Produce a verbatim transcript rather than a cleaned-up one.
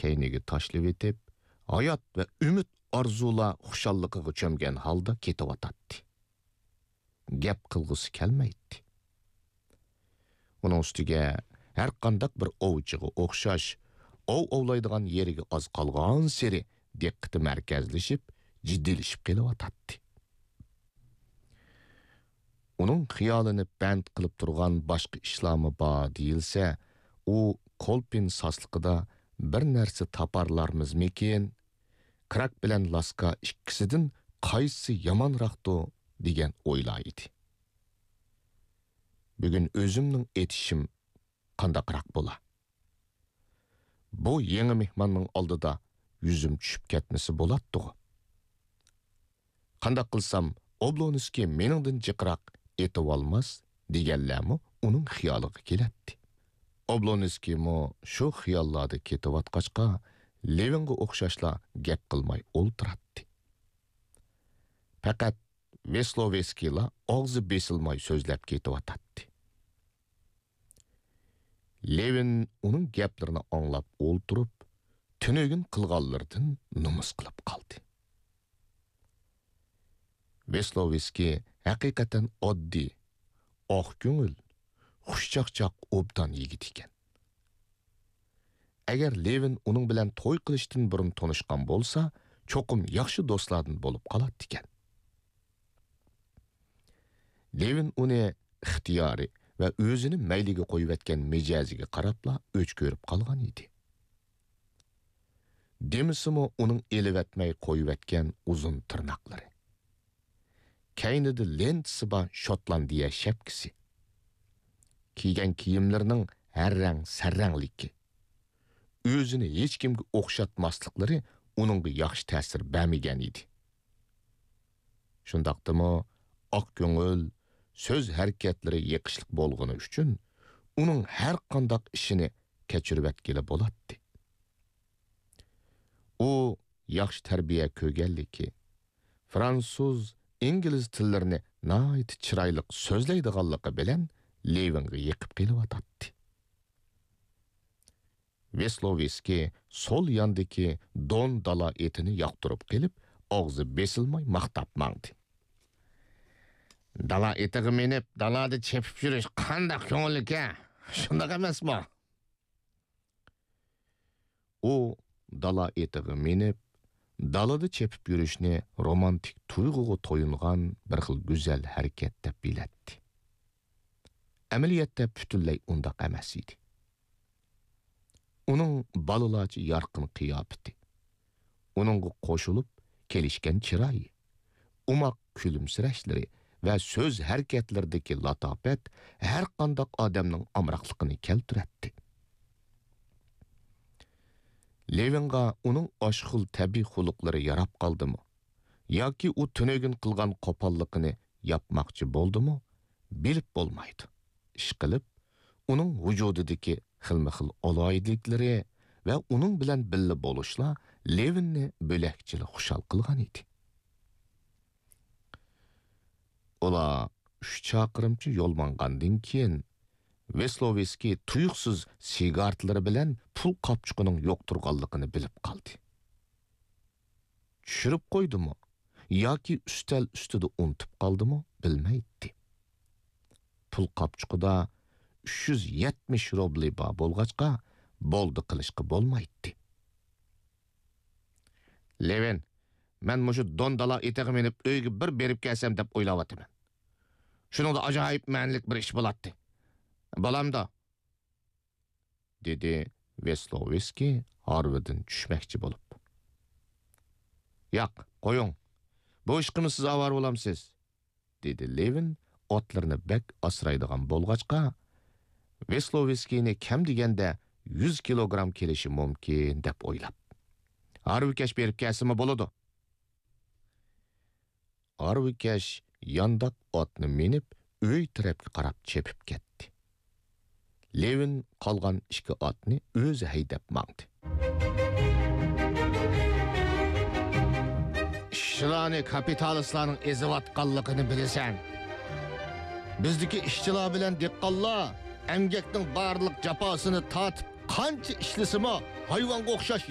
كەينىگە تاشلىۋېتىپ، ھايات ۋە ئۈمىد ئارزۇلار خۇشاللىقىغا چۆمگەن ھالدا كېتىۋاتاتتى. گەپ قىلغۇسى كەلمەيتتى. ئۇنىڭ ئۈستىگە ھەرقانداق بىر ئوۋچىغا ئوخشاش، ئوۋ ئوۋلايدىغان يېرىگە ئاز قالغانسېرى دىققىتى مەركەزلىشىپ، جىددىيلىشىپ قېلىۋاتاتتى. ئۇنىڭ خىيالىنى بەند قىلىپ تۇرغان باشقا ئىشلارمۇ بار دېيىلسە، ئۇ كولپىن ساسلىقىدا بىر نەرسە تاپارلارمىزمىكىن؟ كراك بىلەن لاسكا ئىككىسىدىن قايسىسى يامانراقتۇ دېگەن ئويلار ئىدى. بۈگۈن ئۆزۈمنىڭ ئېتىشىم قانداقراق بولا؟ بۇ يېڭى مېھماننىڭ ئالدىدا يۈزۈم چۈشۈپ كەتمىسە بولاتتىغۇ. قانداق قىلسام ئوبلونسكىي مېنىڭدىن جىقراق ئېتىۋالماس دېگەنلەرمۇ ئۇنىڭ خىيالىغا كېلەتتى. ئوبلونسكىيمۇ شۇ خىياللاردا كېتىۋاتقاچقا، لېۋىنغا ئوخشاشلا گەپ قىلماي ئولتۇراتتى. پەقەت ۋېسلوۋېسكىيلا ئاغزى بېسىلماي سۆزلەپ كېتىۋاتاتتى. لېۋىن ئۇنىڭ گەپلىرىنى ئاڭلاپ ئولتۇرۇپ، تۈنۈگۈن قىلغانلىرىدىن نومۇس قىلىپ قالدى. ۋېسلوۋېسكىي ھەقىقەتەن ئاددىي، ئاق كۆڭۈل، خۇشچاقچاق، ئوبدان يىگىت ئىكەن. ئەگەر لېۋىن ئۇنىڭ بىلەن توي قىلىشتىن بۇرۇن تونۇشقان بولسا، چوقۇم ياخشى دوستلاردىن بولۇپ قالاتتىكەن. لېۋىن ئۇنى ئىختىيارى ۋە ئۆزىنى مەيلىگە قويۇۋەتكەن مىجەزىگە قاراپلا ئۆچ كۆرۈپ قالغان ئىدى. دېمىسىمۇ ئۇنىڭ ئېلىۋەتمەي قويۇۋەتكەن ئۇزۇن تىرناقلىرى، كەينىدە لېنتىسى بار شوتلاندىيە شەپكىسى، كىيگەن كىيىملىرىنىڭ ھەر رەڭ سەررەڭلىكى، ئۆزىنى ھېچكىمگە ئوخشاتماسلىقلىرى ئۇنىڭغا ياخشى تەسىر بەرمىگەن ئىدى. شۇنداقتىمۇ ئاق كۆڭۈل، سۆز ھەرىكەتلىرى يېقىشلىق بولغىنى ئۈچۈن ئۇنىڭ ھەر قانداق ئىشىنى كەچۈرۈۋەتكىلى بولاتتى. ئۇ ياخشى تەربىيە كۆرگەنلىكى، فرانسۇز، ئىنگلىز تىللىرىنى ناھايىتى چىرايلىق سۆزلەيدىغانلىقى بىلەن لېۋىنغا يېقىپ قېلىۋاتاتتى. ۋېسلوۋېسكىي سول ياندىكى دون دالا ئېتىنى ياقتۇرۇپ قېلىپ، ئاغزى بېسىلماي ماختاپ ماڭدى. دالا ئېتىغا مىنىپ، دالادا چېپىپ يۈرۈش قانداق كۆڭۈللۈك ھە؟ شۇنداق ئەمەسمۇ؟ ئۇ دالا ئېتىغا مىنىپ، دالادا چېپىپ يۈرۈشنى رومانتىك تۇيغۇغا تويۇنغان بىر خىل گۈزەل ھەرىكەت دەپ بىلەتتى. ئەمەلىيەتتە پۈتۈنلەي ئۇنداق ئەمەس ئىدى. ئۇنىڭ بالىلارچە يارقىن قىياپىتى، ئۇنىڭغا قوشۇلۇپ كېلىشكەن چىرايى، ئوماق كۈلۈمسىرەشلىرى ۋە سۆز ھەرىكەتلىرىدىكى لاتاپەت ھەرقانداق ئادەمنىڭ ئامراقلىقىنى كەلتۈرەتتى. لېۋىنغا ئۇنىڭ ئاشۇ خىل تەبىئىي خۇلقلىرى ياراپ قالدىمۇ؟ ياكى ئۇ تۈنۈگۈن قىلغان قوپاللىقىنى ياپماقچى بولدىمۇ؟ بىلىپ بولمايدۇ. ئىشقىلىپ، ئۇنىڭ ۋۇجۇدىدىكى خىلمۇ خىل ئالاھىدىلىكلىرى ۋە ئۇنىڭ بىلەن بىللە بولۇشلا لېۋىننى بۆلەكچىلا خۇشال قىلغان ئىدى. ئۇلار ئۈچ چاقىرىمچە يول ماڭغاندىن كېيىن، ۋېسلوۋېسكىي تۇيۇقسىز سىگارتلىرى بىلەن پۇل قاپچۇقىنىڭ يوق تۇرغانلىقىنى بىلىپ قالدى. چۈشۈرۈپ قويدىمۇ ياكى ئۈستەل ئۈستىدە ئۇنتۇپ قالدىمۇ بىلمەيتتى. پۇل قاپچۇقىدا ئۈچ يۈز يەتمىش روبلى بار بولغاچقا، بولدى قىلىشقا بولمايتتى. لېۋىن، مەن مۇشۇ دون دالا ئېتىغا مىنىپ ئۆيگە بىر بېرىپ كەلسەم دەپ ئويلاۋاتىمەن. شۇنىڭدا ئاجايىپ مەنىلىك بىر ئىش بولاتتى. بولامدۇ؟ دېدى ۋېسلوۋېسكىي ھارۋىدىن چۈشمەكچى بولۇپ. ياق، قويۇڭ. بۇ ئىشقىمۇ سىز ئاۋارە بولامسىز؟ دېدى لېۋىن ئاتلىرىنى بەك ئاسرايدىغان بولغاچقا، ۋېسلوۋېسكىينى كەم دېگەندە يۈز كىلوگرام كېلىشى مۇمكىن دەپ ئويلاپ. ھارۋىكەش بېرىپ كەلسىمۇ بولىدۇ. ھارۋىكەش يانداق ئاتنى مىنىپ، ئۆي تەرەپكە قاراپ چېپىپ كەتتى. لېۋىن قالغان ئىككى ئاتنى ئۆزى ھەيدەپ ماڭدى. ئىشچىلارنى كاپىتالىستلارنىڭ ئېزىۋاتقانلىقىنى بىلىسەن. بىزدىكى ئىشچىلار بىلەن دېھقانلار ئەمگەكنىڭ بارلىق جاپاسىنى تارتىپ، قانچە ئىشلىسىمۇ، ھايۋانغا ئوخشاش